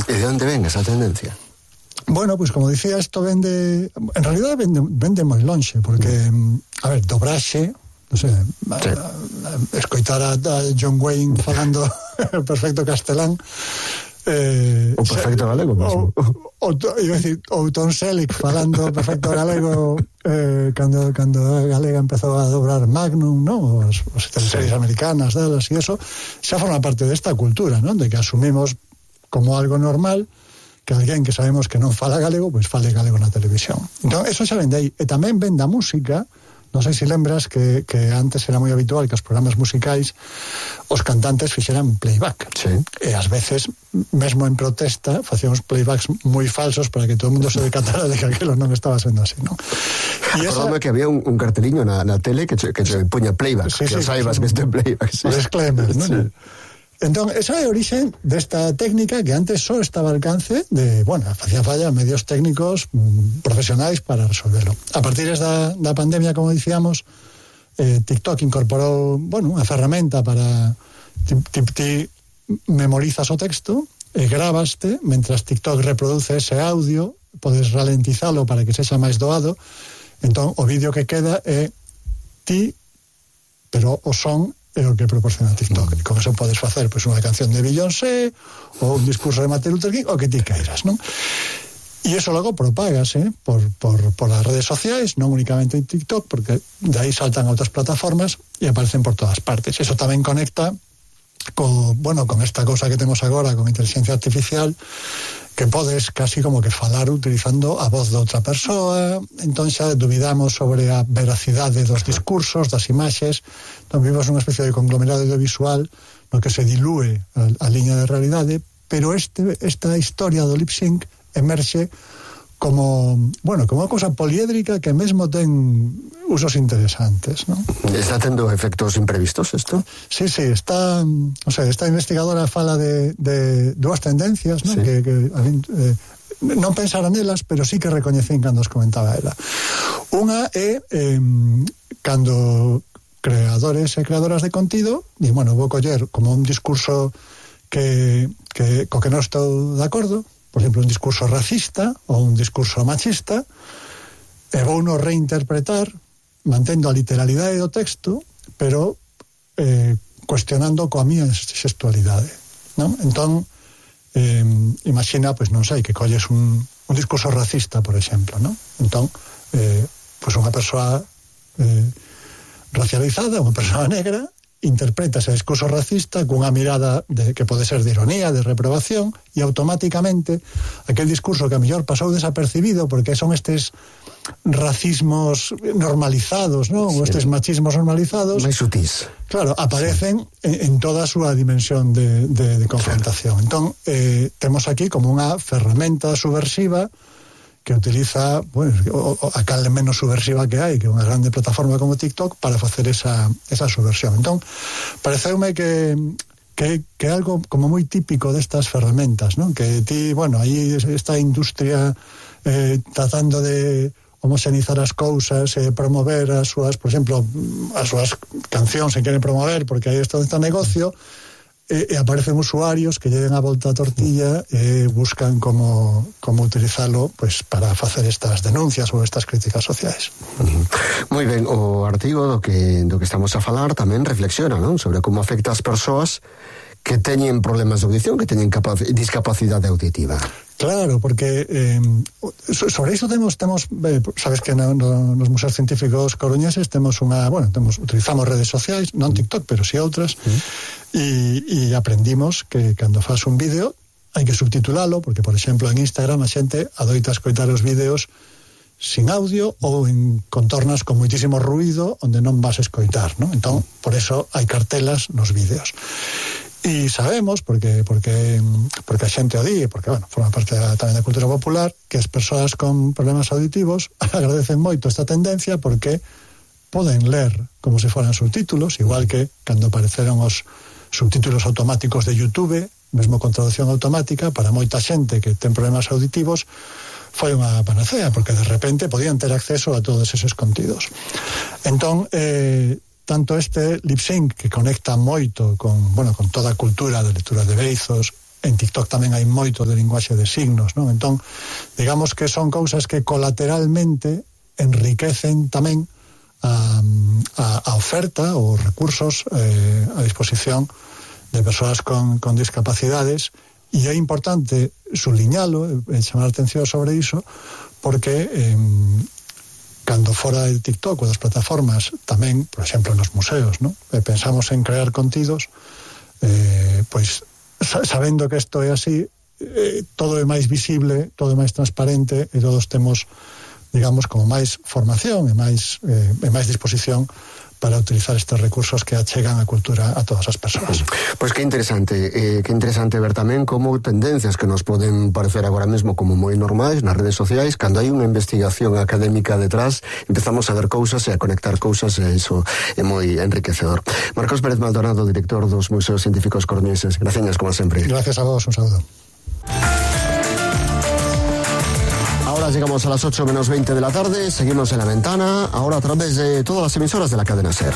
E de onde ven esa tendencia? Bueno, pues como dicía, esto vende... En realidad vende moi lonxe, porque, a ver, dobraxe, non sei, escoitar a John Wayne falando perfecto castelán, o perfecto galego mesmo. Ou Tom Selleck falando perfecto galego cando a galega empezou a dobrar Magnum, ¿no? As teleseries americanas, dalas e eso, xa forma parte desta cultura, ¿no? De que asumimos como algo normal que alguén que sabemos que non fala galego, pois fale galego na televisión. Entón, eso xa vende aí. E tamén vende a música. Non sei se lembras que antes era moi habitual que os programas musicais os cantantes fixeran playback. Sí. E ás veces, mesmo en protesta, facíamos playbacks moi falsos para que todo o mundo se decatara de que aquilo non estaba sendo así, non? Acordame que había un carteliño na tele que se poña playback, que saibas que este playback. O disclaimer, non? Sí. Entón, esa é a orixe desta técnica que antes só estaba ao alcance de, bueno, facía falla medios técnicos profesionais para resolverlo. A partir da pandemia, como dicíamos, TikTok incorporou, bueno, unha ferramenta para ti memorizas o texto e gravaste, mentras TikTok reproduce ese audio, podes ralentizalo para que sexa máis doado. Entón, o vídeo que queda é ti, pero o son é o que proporciona TikTok. E con eso podes facer pois unha canción de Beyoncé ou un discurso de Martin Luther King, o que ti queiras, non? E iso logo propágase por as redes sociais, non únicamente en TikTok, porque de aí saltan a outras plataformas e aparecen por todas partes. Eso tamén conecta con esta cousa que temos agora con inteligencia artificial, que podes casi como que falar utilizando a voz de outra persoa. Entón xa dubidamos sobre a veracidade dos discursos, das imaxes. Entón vivimos unha especie de conglomerado audiovisual no que se dilúe a liña de realidade, pero esta historia do lip sync emerxe como unha cousa poliédrica que mesmo ten usos interesantes, ¿no? Está tendo efectos imprevistos isto? Sí, está, o sea, esta investigadora fala de dúas tendencias, ¿no? Sí. Que non pensara nelas, pero sí que recoñecín cando os comentaba ela. Unha é cando creadores e creadoras de contido di, bueno, vou coller como un discurso co que non estou de acordo, por exemplo, un discurso racista ou un discurso machista, e vou no reinterpretar mantendo a literalidade do texto, pero cuestionando coa miña xestualidade, non? Entón, imagina, pois non sei, que colles un discurso racista, por exemplo, non? Entón, pois unha persoa racializada, unha persoa negra, interpreta ese discurso racista cunha mirada que pode ser de ironía, de reprobación, e automáticamente aquel discurso que a mellor pasou desapercibido porque son estes racismos normalizados, non? Sí. Ou estes machismos normalizados, máis sutís. Claro, aparecen en toda a súa dimensión de confrontación. Entón, temos aquí como unha ferramenta subversiva que utiliza, bueno, a cal menos subversiva que hai, que é unha grande plataforma como TikTok, para facer esa subversión. Entón, pareceume que é algo como moi típico destas ferramentas, non? Que ti, bueno, aí esta industria tratando de homoxenizar as cousas, promover as súas, por exemplo, as súas cancións se queren promover, porque aí está este negocio, e aparecen usuarios que lleven a volta a tortilla e buscan como utilizalo, pois, para facer estas denuncias ou estas críticas sociais. Moi ben, o artigo do que estamos a falar tamén reflexiona, non? Sobre como afecta as persoas que teñen problemas de audición, que teñen discapacidade auditiva. Claro, porque sobre iso temos sabes que nos museos científicos coruñeses utilizamos redes sociais, non TikTok, pero si outras, e aprendimos que cando faz un vídeo hai que subtitulalo, porque, por exemplo, en Instagram a xente adoita escoitar os vídeos sin audio ou en contornas con moitísimo ruído onde non vas a escoitar, non? Entón, por eso hai cartelas nos vídeos. E sabemos, porque a xente o di, porque, bueno, forma parte tamén da cultura popular, que as persoas con problemas auditivos agradecen moito esta tendencia porque poden ler como se foran subtítulos, igual que cando apareceron os subtítulos automáticos de YouTube, mesmo con traducción automática, para moita xente que ten problemas auditivos foi unha panacea, porque de repente podían ter acceso a todos eses contidos. Entón, tanto este lip sync, que conecta moito con toda a cultura de lectura de beizos, en TikTok tamén hai moito de linguaxe de signos, non? Entón, digamos que son cousas que colateralmente enriquecen tamén a oferta ou recursos a disposición de persoas con discapacidades, e é importante subliñalo e chamar a atención sobre iso, porque cando fora de TikTok ou das plataformas, tamén, por exemplo, nos museos, non? Pensamos en crear contidos, pois sabendo que isto é así, todo é máis visible, todo é máis transparente e todos temos, digamos, como máis formación e máis disposición para utilizar estes recursos que achegan a cultura a todas as persoas. Pois que interesante ver tamén como tendencias que nos poden parecer agora mesmo como moi normais nas redes sociais, cando hai unha investigación académica detrás, empezamos a ver cousas e a conectar cousas, e iso é moi enriquecedor. Marcos Pérez Maldonado, director dos Museos Científicos Coruñeses, gracias como sempre. Gracias a vos, un saludo. Ahora llegamos a las 8 menos 20 de la tarde, seguimos en La Ventana, ahora a través de todas las emisoras de la cadena SER.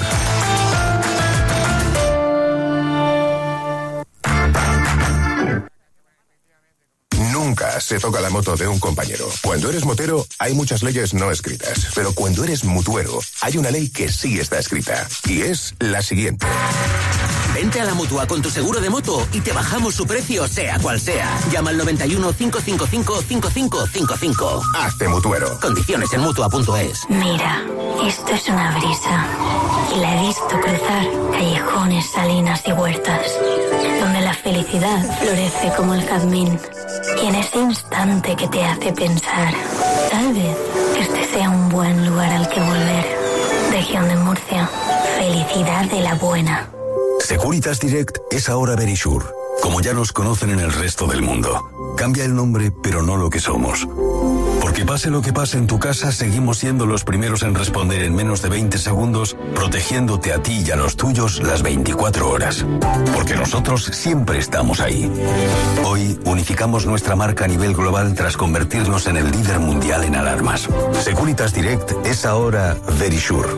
Nunca se toca la moto de un compañero. Cuando eres motero, hay muchas leyes no escritas. Pero cuando eres mutuero, hay una ley que sí está escrita. Y es la siguiente. Vente a la Mutua con tu seguro de moto y te bajamos su precio, sea cual sea. Llama al 91 555 5555. Hazte mutuero. Condiciones en Mutua.es. Mira, esto es una brisa. Y la he visto cruzar callejones, salinas y huertas, donde la felicidad florece como el jazmín. Y en ese instante que te hace pensar, tal vez este sea un buen lugar al que volver. Región de Murcia. Felicidad de la buena. Securitas Direct es ahora Verisure, como ya nos conocen en el resto del mundo. Cambia el nombre, pero no lo que somos. Porque pase lo que pase en tu casa, seguimos siendo los primeros en responder en menos de 20 segundos, protegiéndote a ti y a los tuyos las 24 horas. Porque nosotros siempre estamos ahí. Hoy unificamos nuestra marca a nivel global tras convertirnos en el líder mundial en alarmas. Securitas Direct es ahora Verisure,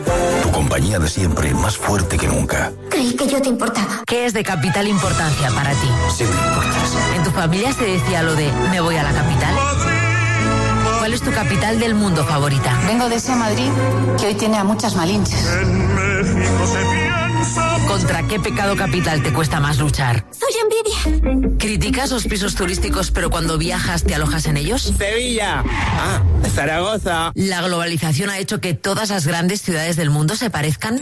tu compañía de siempre más fuerte que nunca. Creí que yo te importaba. ¿Qué es de capital importancia para ti? Sí me importas. ¿En tu familia se decía lo de me voy a la capital? ¿Cuál es tu capital del mundo favorita? Vengo de ese Madrid que hoy tiene a muchas malinches. ¿Contra qué pecado capital te cuesta más luchar? Soy envidia. ¿Criticas los pisos turísticos pero cuando viajas te alojas en ellos? Sevilla. Zaragoza. ¿La globalización ha hecho que todas las grandes ciudades del mundo se parezcan?